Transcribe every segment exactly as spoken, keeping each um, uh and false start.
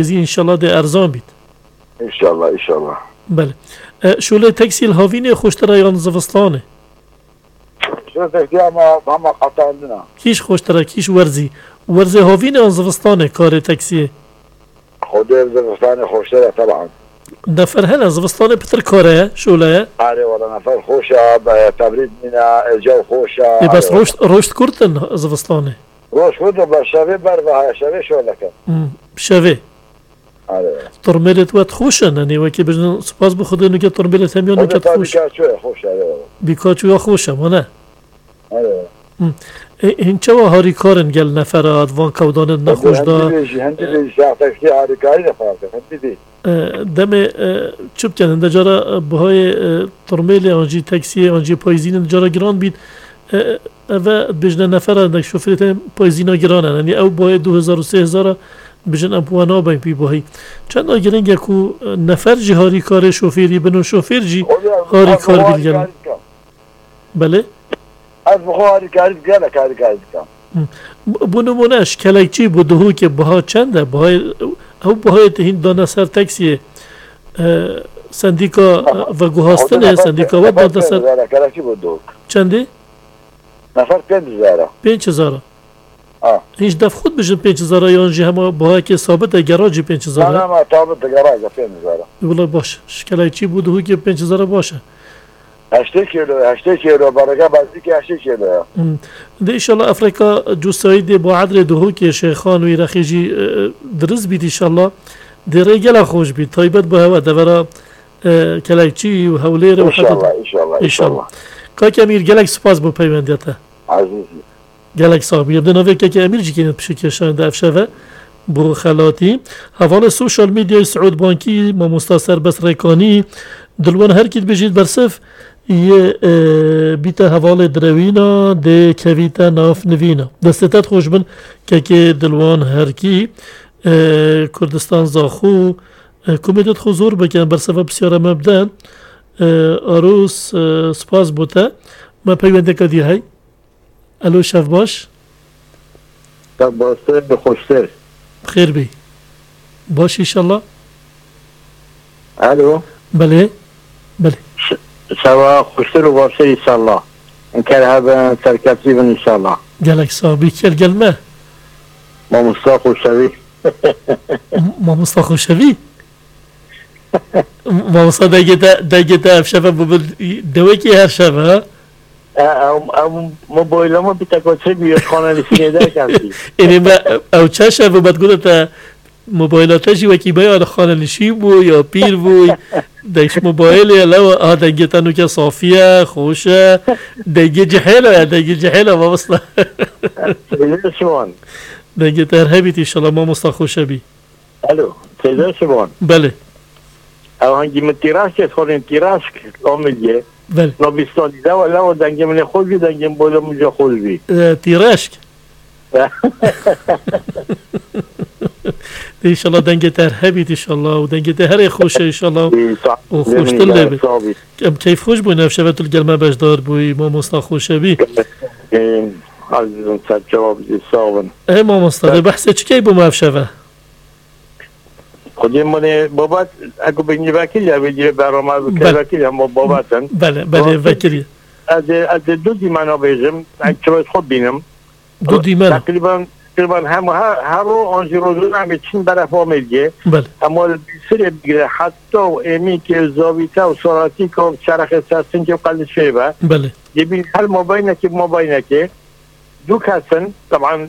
Zî înşallah dê erzan bît. Înşallah, înşallah. Belê. E, şûlê teksî li havînê xweştir e yan zivistanê? Şûlê teksî ama, ama qetandina. Kîş xweştir e, kîş werzî. Werzê havînê yan zivistanê karê teksiyê? Xwedê zivistanê xweştir e, teban. Nefer hene, zivistanê pitir kar e, şûle ye. Erê, wala nefer xweş e, be-, tebrîd nîne, e, ecaw xweş e, Ê, bes erê, wala. Roşt, roşt kurt in zivistanê? Roj xwe de ber şevê ber ve haya, şevê şoleke. Hmm, şevê. Are. Tirmêlê te wet xweş e, nenê wekî bijin spas bi Xwedê nuke tirmêlê te miyan nuke xweş. Bîka ço ye, xweş e, are. Bîka ço ya xweş e, wane. Are. Hmm. E, hin çawa harîkar in gel nefera, van kewdanên nexweş da? Hendî bêjî, hendî bêjî, saetekî harîkarî de fark e, hendî bê. E, demê, e, çi bikin, hinde cara, e, bihayê, e, tirmêlê an jî teksiyê an jî payîzînê hinde cara giran bît. E, eve dibêjine nefera hindek şofêrê te payîzîna giran e. Yanî ew bihayê du hezar û sê hezar e, dibêjin em bi we nabin pî bihayî. Çenda giring e ku, e, nefer jî harîkarê şofêrî bin û şofêr jî harîkar bî gel. Belê? Ez bi xwe harîkarî, gelek harîkarî dikim. Hı. Bu, bu nimûne ji kelekçî bû Duhokê biha çend e? Bihayê, ew bihayê te hîn dane ser teksiyê, e, sendîka, e, veguhastinê, sendîka we dane ser. Nefer pênc hezar e, kelekçî bû Duhok. Çendî? Nefer pênc hezar e. Pênc hezar e. Ha. Hîn ji def xwe dibêjin pênc hezar e yan jî hema bihayekê sabit e, gera jî pênc hezar e? Na, na, ma sabit e, gera jî pênc hezar e. Wila baş. Ji kelekçî bû Duhokê pênc hezar e baş e. Heştê kîlo, heştê kîlo, bereke bezîkê heştê kîlo ya. Hmm. De înşallah Efreka Cusayî dê bo edrê Duhokê Şêxan û Îrexê jî, e, dirist bît înşallah. Dê rê gela xweş bît. Taybet bo hewe devera, e, Kelekçî û Hewlêrê û Hedûdê. Înşallah, înşallah, înşallah. Kak Emîr, gelek spas bo peywendiya te. Ezîz. Gelek sax bî. Em dê navê kekê Emîr jî kêne pişikê şahin de ev şeve. Bo xelatî. Hevalê sosyal medyayê Siûd Bankî, mamosta Serbest Rêkanî, dilwan herkî dibêjît bersiv yê, e, bîte hevalê direwîna, dê kevîte nav nivîna. Destê te xweş bin, kekê dilwan herkî, e, Kurdistan Zaxo, e, kumê te xwe zor bikin, bersiva pisyara me bide. E, Aros, e, spas bo te. Me peywendeka dî hey. Elo, şev baş. Şev baş, te bi xweştir. Xêr bî. Baş înşallah. Elo. Belê. Belê. Ş-, şeva xweştir û baştir înşallah. Ker hebin, serkeflî bin înşallah. Gelek sax bî. Kê li gel me? Mamosta Xoşevî. M-, Mamosta Xoşevî? Mamosta dengê te, dengê te ev şeve bû bin dewekî her şeve, ha? E, ew, ew mobayla min bi teko çê bûye, xanelîşînê derketî. Ênê me, ew çend şev bû me digote te mobayla te jî wekî me ya li xanelîşîn bû ya pîr bû. Deng ji mobaylê ye lew, aha dengê te nûke safî ye, xweş e. Dengê cihêla ye, dengê cihêla mamosta. Seyda Şivan. Dengê te her hebît înşallah mamosta Xoşevî. Alo, Seyda Şivan. Belê. Ew hangî min tîraşkê xwarin tîraşk Amilgê. Belê. Nobîstanî de wele o dengê min ê xweş bî, dengê min boyla min jî xweş bî. E, tîraşk. Înşallah dengê te her hebît înşallah û dengê te herê xweş e înşallah û xweştir lê bit. Em keyf xweş bûn ev şeve tu li gel me beşdar bûyî mamosta Xoşevî. Azîzim ser cevabî sax bin. Ê mamosta, dê behsê çi key bû me ev şeve? Xwedê min ê babet, eku bênî vekirî, ev ê dîrê berama bike vekirî, hema babet in. Belê, belê, vekirî. Ez ê, ez ê du dîmena bêjim, ez çiwêt xwe bînim. Du dîmena. Teqrîben, teqrîben hem her, her ro an jî rojane em ê çin beref Amêrgê. Belê. Hema li Bîsirê bigire, heta û Êmîkê, Zavîte û Saratîka û Çerexê Sersinkê û Qelişê ve. Belê. Yê bîn her mabeynekê, mabeynekê. Du kes in, teban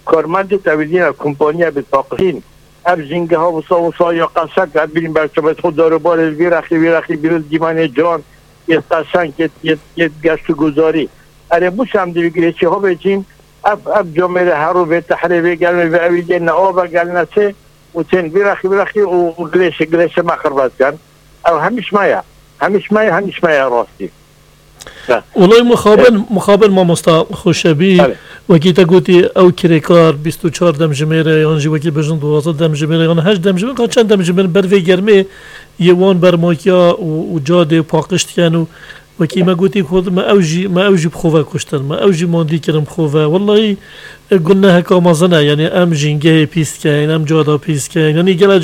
karmendê tewîzîna kompaniya bi paqijîn. Ev jîngeha wisa wisa ya qeşek, ev bîn berçavê xwe darobarê li vî rexî, vî rexî bîrê dîmenê can, yê qeşeng, yê, yê, yê geşt û guzarî. Erê, bû şem divî girê çi havê cîn, ev, ev camêrê herû vê tehrê vê gelmê vê ewî gê ne ava gel ne çê, û tên vî rexî, vî rexî û, û gilêşê, gilêşê me xirbet ken. Ew hemîş me ye. Hemîş me ye, hemîş me ye rastî. Olay mixabin, mixabin mamosta Xoşebî, wekî te gotî ew kirêkar bîst û çar demjimêr e, yan jî wekî bijin duwazdeh demjimêr e, yan heşt demjimêr, ka çend demjimêr ber vê germê yê wan bermakiya û, û cadê paqij dikin û wekî me gotî ku me ew jî, me ew jî bi xwe ve kuştin, me ew jî mandî kirin bi xwe ve. Wellahî, e, guneheka mezin e, yanî em jîngehê pîs dikeyn, em cada pîs dikeyn, yanî gele